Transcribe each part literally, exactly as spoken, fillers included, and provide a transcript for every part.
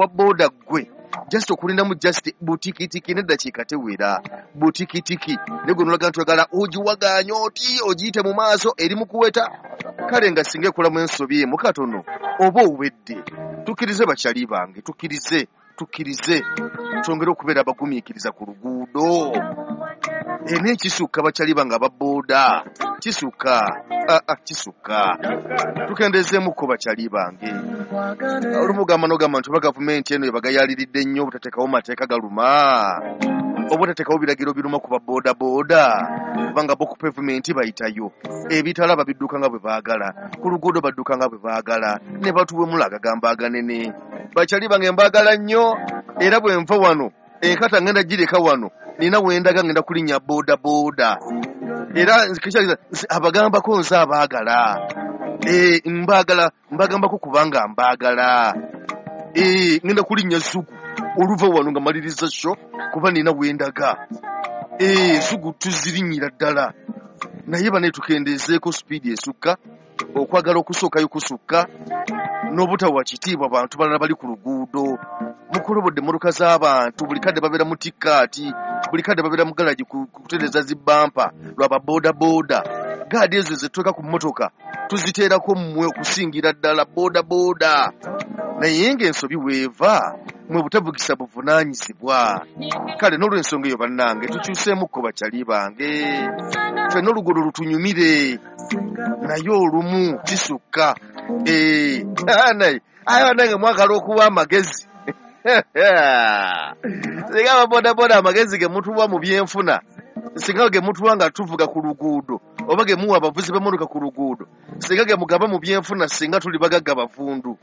owa boda gwe just okulindamu just butikitiki neddakiika tewera butikitiki naye gwe nolaga nti oyagala ogiwagaanya oti ogiyite mu maaso eri mu kuweta kale nga singa ekolamu ensobi emu katono oba owedde. Tukkirize bakyali bange, tukkirize tukkirize twongere okubeera abagumiikiriza ku luguudo. Naye kisukka bakyali bange aba boda, kisukka aa kisukka, tukendezeemukko bakyali bange. Olumu ogamba n'ogamba nti oba gavumenti eno ebagayaliridde nnyo obutateekawo mateeka galuma, oba otateekawo biragiro biruma ku ba boda boda, kubanga bo ku pavement bayitayo ebitala babidduka nga bwe baagala, ku luguudo badduka nga bwe baagala, ne batuwemula agagamba aganene. Bakyali bange mbaagala nnyo, era bwe nva wano enkata ngenda gireka wano, nina wendaga ngenda kulinnya boda boda, era abagambako nze abaagala, eh mbaagala mbagambako kubanga mbaagala, eh ngenda kulinnya zugu oluva wano nga maliriza sho kuba nina wendaga, eh zugu tuzirinnyira ddala. Naye bane tukendezeeko sipiidi esukka, okwagala okusookayo kusukka, n'obutawa kitiibwa bantu balala bali ku luguudo. Mukulobodde emmotoka z'abantu buli kadde babeera mu tikkaati, buli kadde babeera mu galagi kutereeza zibampa lwa ba boda boda. Gaadi ezo zetuteeka ku mmotoka tuziteerako mmwe okusingira ddala boda boda. Naye ng'ensobi weeva mwe butavugisa buvunaanyizibwa. Kale n'olw'ensonga eyo bannange tukyuseemukko bakyali bange, ffenna oluguudo lutunyumire, naye olumu kisukka. Eh, naye aye bannange mwagala okuwa amagezi singa ababodaboda amagezi ge mutuwa mu byenfuna, singa ge mutuwa nga tuvuga ku luguudo, oba ge muwa abavuzi b'emmotoka ku luguudo, singa ge mugaba mu byenfuna, singa tuli bagagga bavundu.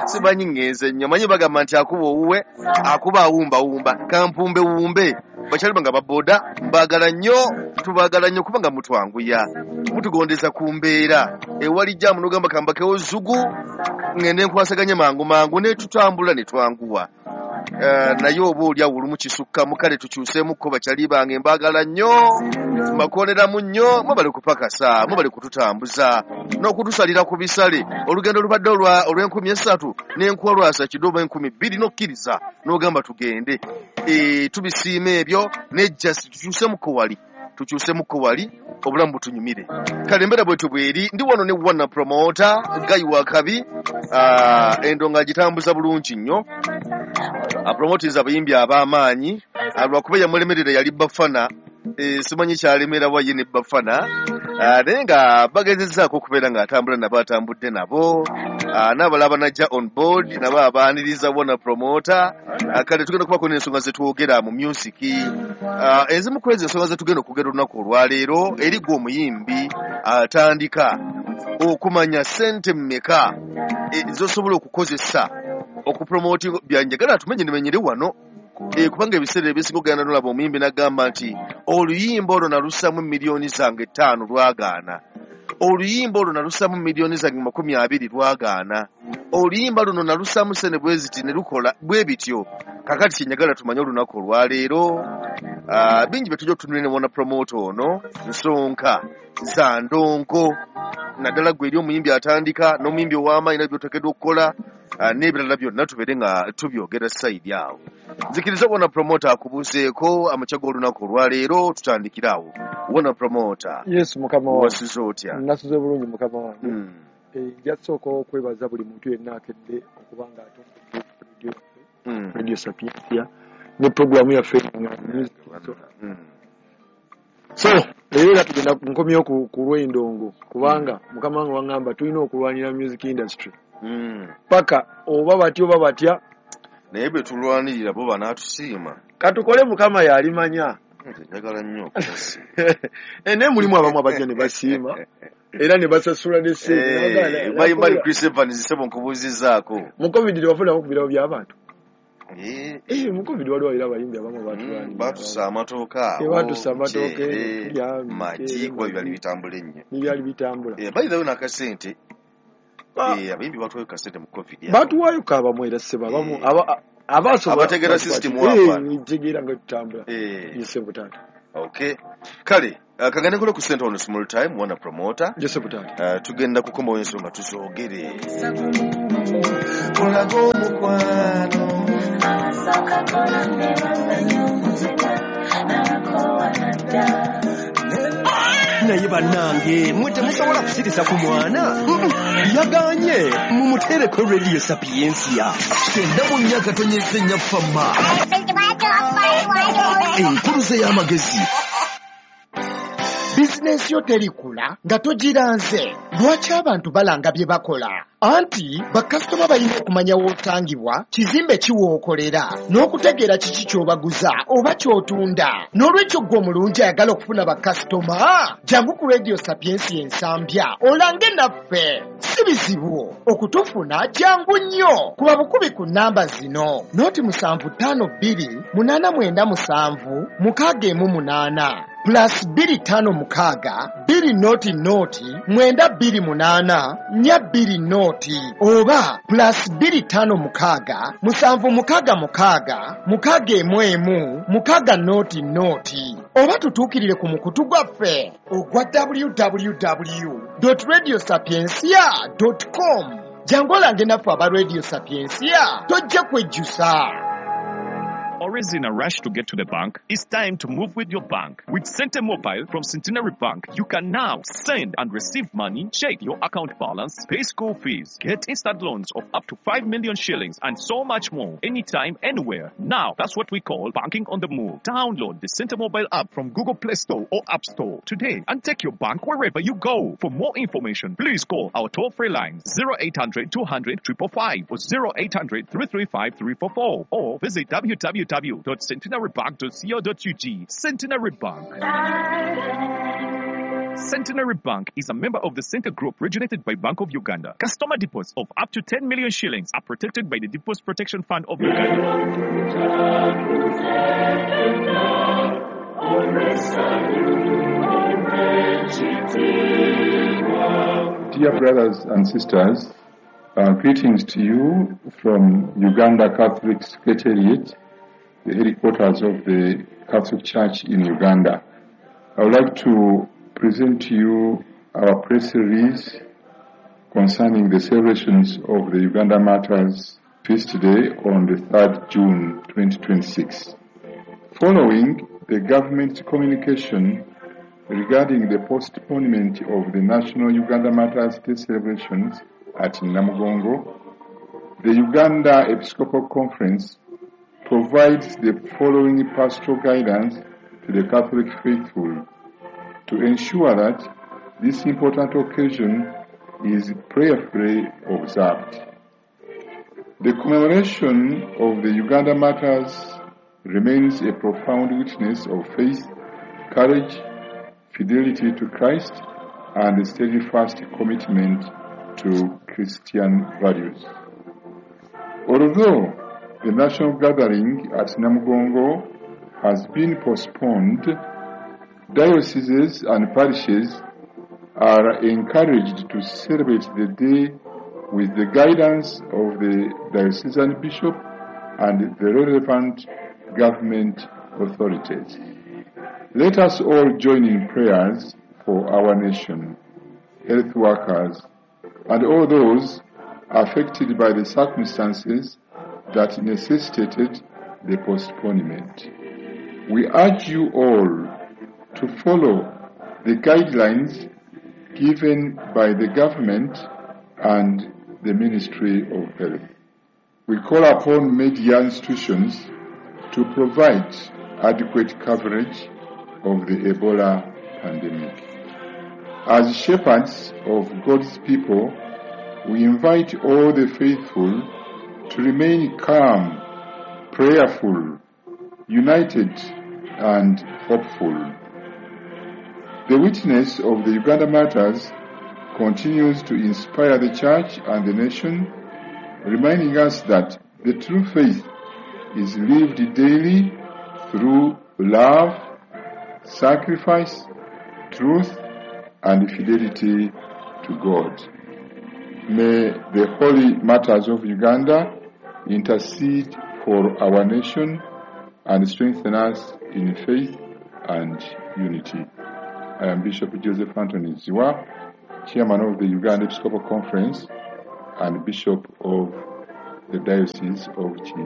Simanyi ngenze nnyo, manyi bagamba nti akuba owuwe akuba awumbawumba, kampumbe wumbe. Bakyali bange ababoda mbaagala nnyo, tubaagala nnyo kubanga mutwanguya, mutugondeza ku mbeera. Ewali jaamu n'ogamba kambakewo zugu ngende nkwasaganye mangu mangu, ne tutambula ne twanguwa. Uh, naye oba oli awo olumu kisukkamu. Kale tukyuseemukko bakyali bange, mbaagala nnyo, mbakooneramu nnyo, mwebale kupakasa, mwebale kututambuza n'okutusalira ku bisale. Olugendo olubadde olw'enkumi esatu n'enkuwa lwasa kidde oba enkumi bbiri n'okkiriza n'ogamba tugende. E, tubisiima ebyo ne just tukyuseemukko wali, tukyuseemukko wali, obulamu butunyumire. Kale embeera bwetyo bweri. Ndi wano ne Wana Promoter Guy Wakabi, uh, endo ng'agitambuza bulungi nnyo, apromotinza abayimbi ab'amaanyi, lwakuba yamulemerera yali Bafana, e, simanyi kyalemera wa ye ne Bafana, naye nga bagezezzaako okubeera ng'atambula nabo atambudde nabo, n'abalala banajja on board nabo abaaniriza Wana Promoter. Kale tugenda kubako n'ensonga zetwogera mu music. Ezimu ku ezo ensonga zetugenda okwogera olunaku olwaleero, eri gwe omuyimbi atandika okumanya ssente mmeka zosobola okukozesa okupromotinga. Byanjagala tumenye nimenyere wano, e, kubanga ebiseera ebisinga ogenda nolaba omuyimbi n'agamba nti oluyimba olwo nalussamu miliyoni zange ttaano lwagaana, oluyimba olwo nalussamu miliyoni zange makumi abiri lwagaana, oluyimba luno nalussamu sente bwe ziti ne lukola bwe bityo. Kakati kyenjagala tumanye olunaku olwaleero, uh, bingi bye tujja okutunulira ne Wana Promoter ono, nsonka za ndongo, naddala gwe eri omuyimbi atandika n'omuyimbi ow'amaanyi nabyo by'oteekeddwa okukola, uh, n'ebirala byonna tubeere nga tubyogera sayidi awo. Nzikiriza Wana Promoter akubuuzeeko amakya g'olunaku olwaleero, tutandikire awo. Wana Promoter. Yes, mukama wange. Wasuze otya? Nasuze bulungi mukama wange. Mm. Nja kusooka okwebaza buli muntu yenna akedde okuba nga atondedde radio yaffe, Mm. Radio Sapientia, ne programu yaffe nga music. Mm. So leero era tugenda nkomyewo ku, ku lw'endongo, kubanga mukama wange waŋŋamba tulina okulwanira music industry Mm. paka oba batya oba batya, naye bwe tulwanirira bo banaatusiima. Katukole mukama yalimanya. Nze njagala nnyo okubasiima. Eh, naye mulimu abamu abajja ne basiima era ne basasula ne ssente. Mayi Mali Chris Evans ssebo nkubuuzizzaako. Mu COVID tebafunako ku birabo by'abantu. Eh, Eh, mu COVID waliwo era abayimbi abamu batulwanirira. Batusa amatooka awo, Batusa amatooka, muceere, tulya, magi, muceere, kuba byali magi. bitambula ennyo. Byali bitambula. Eh, by the way n'akasente, Ba- eh, abayimbi batuwayo kasente mu COVID awo. Batuwaayo ko abamu era ssebo, abamu Eh. aba- abasobola Abategeera system Eh, wapa. tegeera nga tutambula. Eh. Ye ssebo taata. Okay. Kale Uh, kagende kule ku center on small time wana promoter Yes, Butati. Uh, tugenda kukomawo ensonga tuzoogere. Olaga omukwano Naye bannange mwe temusobola kusirisa ku mwana yaganye mumuteereko Radio Sapientia Kyenda mu nnya katonyeze nnya fama enkuluze y'amagezi. Bizinensi yo terikula nga togiranze. Lwaki abantu balanga bye bakola? Anti bakasitoma balina okumanya w'otangibwa, kizimbe ki w'okolera, n'okutegeera kiki ky'obaguza oba ky'otunda. N'olwekyo ggwe omulungi ayagala okufuna bakasitoma, jangu ku Radio Sapientia Ensambya olange naffe. Si bizibu okutufuna, jangu nnyo. Kuba bukubi ku nnamba zino: noti musanvu ttaano bbiri munaana mwenda musanvu mukaaga emu munaana plus bbiri ttaano mukaaga bbiri noti noti mwenda bbiri munaana nnya bbiri noti oba plus bbiri ttaano mukaaga musanvu mukaaga mukaaga mukaaga emu emu mukaaga noti noti oba tutuukirire ku mukutu gwaffe ogwa w w w radio sapientia com. Jangu olange naffe aba Radio Sapientia, tojja kwejjusa. Always in a rush to get to the bank? It's time to move with your bank. With Sente Mobile from Centenary Bank, you can now send and receive money, check your account balance, pay school fees, get instant loans of up to five million shillings, and so much more. Anytime, anywhere. Now, that's what we call banking on the move. Download the Sente Mobile app from Google Play Store or App Store today and take your bank wherever you go. For more information, please call our toll-free lines zero eight hundred two hundred five five five or zero eight hundred three three five three four four or visit w w w dot centenarybank dot co dot u g. Centenary Bank. Centenary Bank is a member of the Center Group regulated by Bank of Uganda. Customer deposits of up to ten million shillings are protected by the Deposit Protection Fund of Uganda. Dear brothers and sisters, uh, greetings to you from Uganda Catholic Secretariat, the headquarters of the Catholic Church in Uganda. I would like to present to you our press release concerning the celebrations of the Uganda Martyrs Feast Day on the third June twenty twenty-six. Following the government's communication regarding the postponement of the National Uganda Martyrs Day celebrations at Namugongo, the Uganda Episcopal Conference provides the following pastoral guidance to the Catholic faithful to ensure that this important occasion is prayerfully observed. The commemoration of the Uganda Martyrs remains a profound witness of faith, courage, fidelity to Christ, and a steadfast commitment to Christian values. Although the national gathering at Namugongo has been postponed, dioceses and parishes are encouraged to celebrate the day with the guidance of the diocesan bishop and the relevant government authorities. Let us all join in prayers for our nation, health workers, and all those affected by the circumstances that necessitated the postponement. We urge you all to follow the guidelines given by the government and the Ministry of Health. We call upon media institutions to provide adequate coverage of the Ebola pandemic. As shepherds of God's people, we invite all the faithful to remain calm, prayerful, united, and hopeful. The witness of the Uganda Martyrs continues to inspire the Church and the nation, reminding us that the true faith is lived daily through love, sacrifice, truth, and fidelity to God. May the holy martyrs of Uganda intercede for our nation and strengthen us in faith and unity. I am Bishop Joseph Anthony Zziwa, Chairman of the Uganda Episcopal Conference and Bishop of the Diocese of Kiyinda.